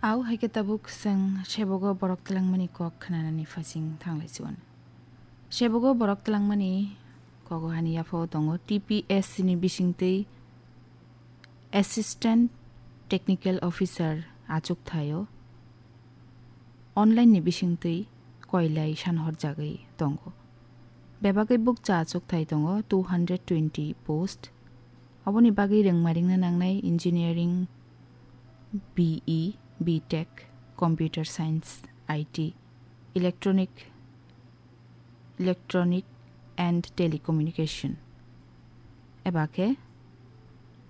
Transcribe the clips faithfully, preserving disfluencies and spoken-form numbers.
Au hai khe tabuk chwng sebogo borok twlangmani kok khnanani phaising thanglai chuan. Sebogo borok twlangmani kogo hani yaphao tongo T P S C ni bisingtwi Assistant Technical Officer achuk thaio. Online ni bisingtwi koilai san horjagwi tongo. Bebagwi bukcha achuk thai tongo two hundred twenty post. Oboni bagwi rwngma ringna nangnai engineering, B E, B Tech, computer science, I T, electronic, electronic and telecommunication, eba khe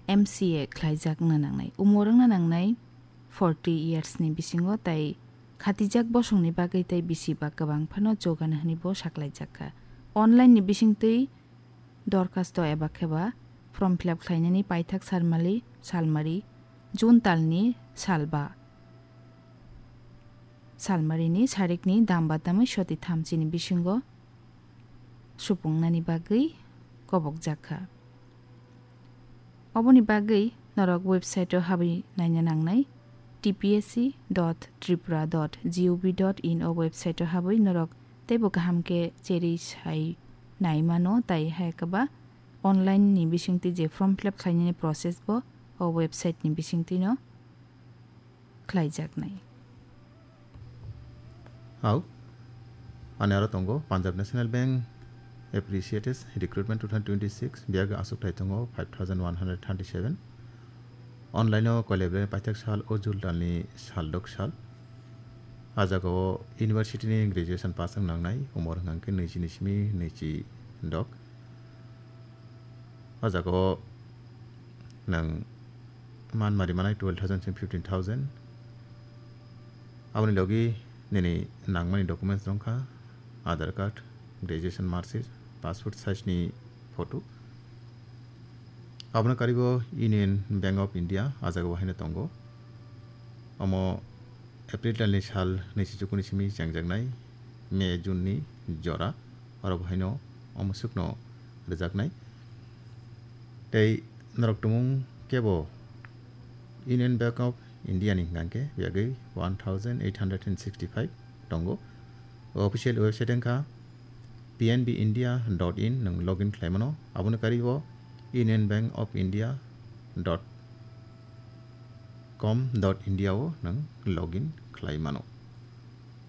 M C A khlaijak wngna nangnai. Umor wngna nangnai forty years ni bisingo, tai khatijak bosongni bagwi tai bisi ba kwbang phano jogano hwnwi bo saklaijak kha. Online ni bisingtwi dorkhasto eba khe ba form fill up khlainani paithak salmali, salmari, June talni salba, salmarini sarikni damba tamwi soti thamchini bisingo supungnani bagwi kobokjak kha. Oboni bagwi norok website-o habwi naina nangnai, T P S C dot tripura dot gov dot in o website-o habwi norok teibo kaham khe cherwi sai nai mano, tai hai khe ba online ni bisingtwi je form fill up khlainani process bo o website ni bisingtwino khlaijaknai. Au, ani aro tongo Punjab National Bank appreciates recruitment two thousand twenty-six, biyagwi aswk thai tongo five thousand one hundred thirty-seven. Online-o koilai belai paithak sal o Jul talni sal dok sal. A jagao university ni graduation pass wng nangnai, umor hwnkha khe naichi ni simi naichi dok. O jagao nwng manmari manai twelve thousand se fifteen thousand. Aboni logi nini nangmani documents wngkha Aadhaar card, graduation mark sheet, passport size ni photo. Abono karibo Union Bank of India, a jagao haino tongo. Omo April talni sal naichi chukuni simi chengjaknai, May, June ni jora, oro bo haino omo swkno rwjaknai. Tei norok tumung kebo Union Bank of India ni hwnkha khe biyagwi one thousand eight hundred and sixty-five tongo. O official website wngkha P N B India dot in, nwng login khlai mano. Aboni karibo Union Bank of India dot com dot India o nwng login khlai mano.